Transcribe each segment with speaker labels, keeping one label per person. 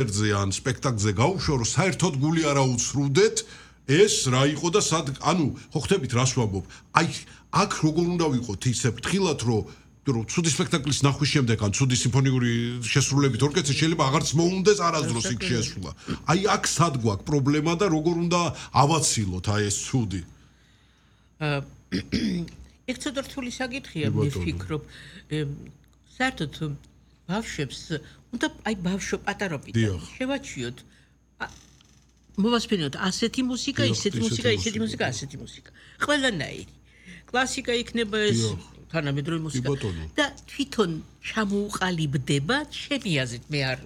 Speaker 1: კონცერტზე ან სპექტაკლზე გავუშვა, რომ საერთოდ გული არ აუცრუდეთ, ეს რა იყო და სად, ანუ ხო ხდებით რას ვამბობ? აი აქ როგორ უნდა ვიყოთ ისე ფრთხილად, რომ ცუდი სპექტაკლის ნახვის შემდეგ ან ცუდი სიმფონიური შესრულებით ორკესტრი შეიძლება აღარც მოუნდეს არასდროს იქ შესვლა. აი აქ სად გვაქვს პრობლემა და როგორ უნდა ავაცილოთ აი ეს ცუდი?
Speaker 2: ეგ ცოტა რთული საკითხია, მე ვფიქრობ. საერთოდ ბავშვებს უნდა აი ბავშვ პატარობიდან შევაჩიოთ. მოვასწრებთ ასეთი მუსიკა, ისეთი მუსიკა, ისეთი მუსიკა, ასეთი მუსიკა. ყველანაირი. კლასიკა იქნება ეს თანამედროვე მუსიკა და თვითონ ჩამოუყალიბდება ჩემი აზრით, მე არ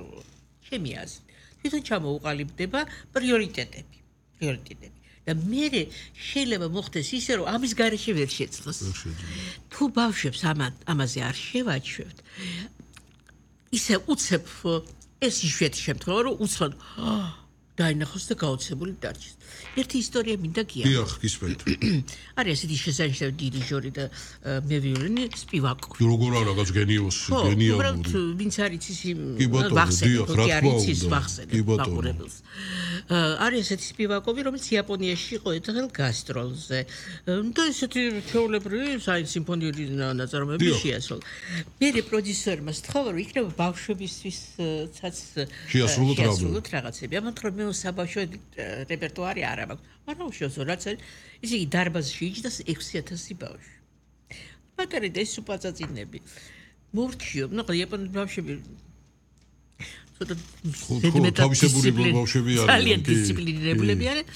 Speaker 2: ჩემი აზრით. თვითონ ჩამოუყალიბდება პრიორიტეტები. და მე შეიძლება მოხდეს ისე, რომ ამის გარეშე ვერ შეძლოს. თუ ბავშვებს ამაზე არ შევაჩვევთ, ისე უცებ ეს იშვიათი შემთხვევა, რომ უცბად დაინახოს და გაოცებული დარჩეს. ერთი ისტორია მინდა გიახსნათ.
Speaker 1: დიახ, გისმენთ.
Speaker 2: არის ესეთი შესანიშნავი დირიჟორი და მე ვიოლინი სპივაკოვი.
Speaker 1: როგორ არა, რაღაც გენიოსი, გენიალური.
Speaker 2: უბრალოდ ვინც არის ის ვახსენებელს. არის ესეთი სპივაკოვი, რომელიც იაპონიაში იყო ერთხელ გასტროლზე. და ესეთი ჩვეულებრივი სიმფონიური ნაწარმოები შეასრულა. მე პროდიუსერმა სთხოვა, რომ იქნება ბავშვებისთვის შეასრულოთ რაღაცები. ამიტომ მე საბავშვო რეპერტუარი არ აქვს. მაგრამ უშუალოდ რაც არის, ისე იგი დარბაზში იჯდა 6000 ბავშვი. მაგარი და ეს უპაწაწინები. მორჩიო, ნუ იაპონური ბავშვები ცოტა
Speaker 1: თავისებური ბავშვები არიან.
Speaker 2: ძალიან დისციპლინირებულები არიან.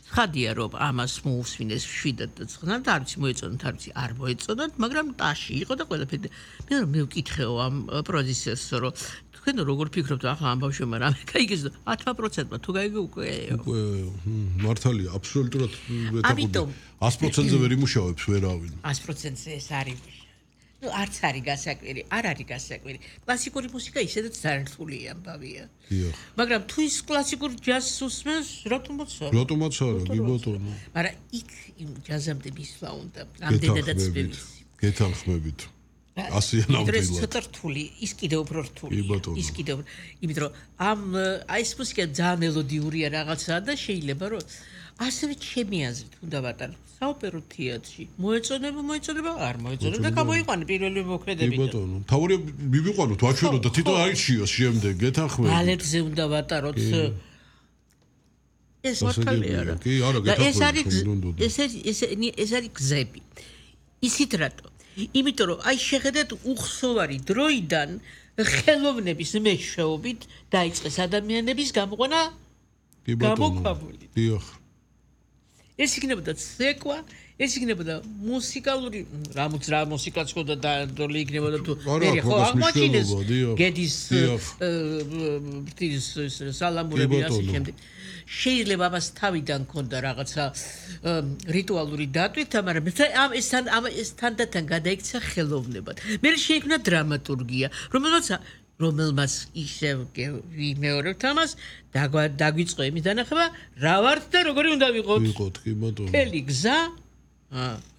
Speaker 2: ხადია რომ ამას მოусვინეს 7-9 და არც მოეწონათ, არც არ მოეწონათ, მაგრამ ტაში იყო და ყველაფერი. მე ვკითხეო ამ პროდიუსერს, რომ თქვენ როგორ ფიქრობთ ახლა ამ ბავშვებმა რამე გაიგეს და 10%-მა თუ გაიგე უკვე
Speaker 1: მართალია, აბსოლუტურად
Speaker 2: ამიტომ
Speaker 1: 100%-ზე ვერ იმუშავებს ვერავინ.
Speaker 2: 100%-ზე ეს არის. ნუ არც არის გასაკვირი, არ არის გასაკვირი. კლასიკური მუსიკა ისედაც ძალიან რთული ამბავია.
Speaker 1: დიახ.
Speaker 2: მაგრამ თუ ის კლასიკურ ჯაზს უსმენს, რატომაც არა?
Speaker 1: რატომაც არა, კი ბატონო.
Speaker 2: მაგრამ იქ იმ ჯაზამდე მისვლა უნდა, ამდენადაც ბევრი.
Speaker 1: გეთანხმებით. ასიანამდე.
Speaker 2: ეს ცოტა რთული, ის კიდევ უფრო რთულია. ის კიდევ, იმიტომ რომ აი ეს მუსიკა ძალიან მელოდიურია რაღაცაა და შეიძლება რომ ასევე ჩემი აზრით უნდა ვატარო საოპერო თეატრში. მოეწონება, არ მოეწონება და გამოიყვანე პირველი მოქმედები.
Speaker 1: კი ბატონო. თავია მივიყვანოთ, ვაჩვენოთ და თვითონ აირჩიოს შემდეგ, გეთანხმებით.
Speaker 2: ბალეტზე უნდა ვატაროთ. ეს მართალია რა.
Speaker 1: კი, არა, გეთანხმებით.
Speaker 2: ეს არის გზები. ისიც რატო? იმიტომ რომ აი შეხედეთ უხსოვარი დროიდან ხელოვნების მეშვეობით დაიწყეს ადამიანების გამოყვანა გამოქვაბული.
Speaker 1: დიახ.
Speaker 2: ეს იქნებოდა ცეკვა, ეს იქნებოდა მუსიკალური, რა მუსიკაც ხო და დადოლი იქნებოდა თუ მე ხო აღმოჩინეს გედის სალამურები ასე შემდეგ. შეიძლება ამას თავიდან ქონდა რაღაცა რიტუალური დატვირთ, მაგრამ ეს თანდათან გადაიქცა ხელოვნებად. მე შეიქმნა დრამატურგია, რომელმაც ისევ ვიმეორებთ ამას, დაგვიწყო იმის დანახება, რა ვართ და როგორი უნდა ვიყოთ.
Speaker 1: კი ბატონო.
Speaker 2: მთელი გზა,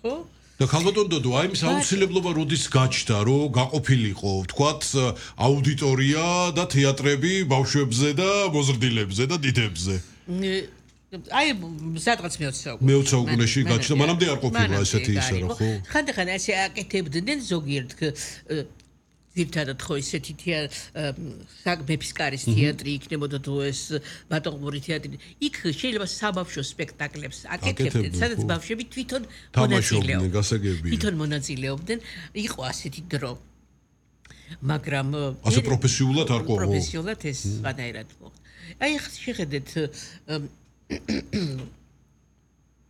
Speaker 2: ხო?
Speaker 1: და ხალბატონ დოდო, აი ეს აუცილებლობა როდის გაჩნდა, რომ გაყოფილიყო, ვთქვათ, აუდიტორია და თეატრები ბავშვებზე და მოზრდილებზე და დიდებზე.
Speaker 2: აი სადღაც მე-20
Speaker 1: საუკუნეში გაჩნდა, მანამდე არ ყოფილა ესეთი ისა რა, ხო?
Speaker 2: ხანდახან ასე აკეთებდნენ ზოგიერთ ძირთადად ხო ისეთი მეფის კარის თეატრი იქნებოდა თუ ეს ბატონყმური თეატრი. იქ შეიძლება საბავშვო სპექტაკლებს აკეთებდნენ, სადაც ბავშვები თვითონ მონაწილეობდნენ. იყო ასეთი დრო. მაგრამ
Speaker 1: ასე პროფესიულად არ ყოფილა.
Speaker 2: პროფესიულად ეს სხვანაირად მოხდა. აი შეხედეთ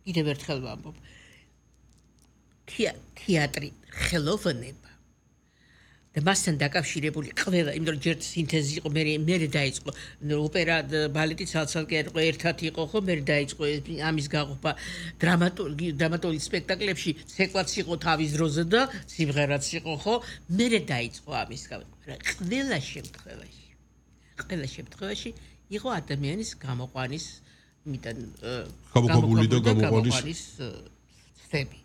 Speaker 2: კიდევ ერთხელ ვამბობ. თეატრი ხელოვნება და მასთან დაკავშირებული ყველა, იმიტომ რომ ჯერ სინთეზი იყო, მე დაიწყო ოპერა, ბალეტი ცალ-ცალკე იყო, ერთად იყო, ხო, მე დაიწყო ამის გაყოფა დრამატული სპექტაკლებში, ცეკვაც იყო თავის დროზე და სიმღერაც იყო, ხო, მე დაიწყო ამის გაყოფა. ყველა შემთხვევაში იყო ადამიანის გამოყვანის
Speaker 1: გამოქვაბული და გამოყვანის
Speaker 2: ცდები.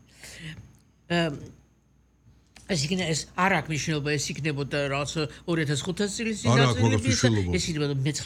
Speaker 2: ეს არ აქვს მნიშვნელობა, ეს იქნებოდა რაღაც 2500 წლის წინასწარ, ეს იქნებოდა მე-19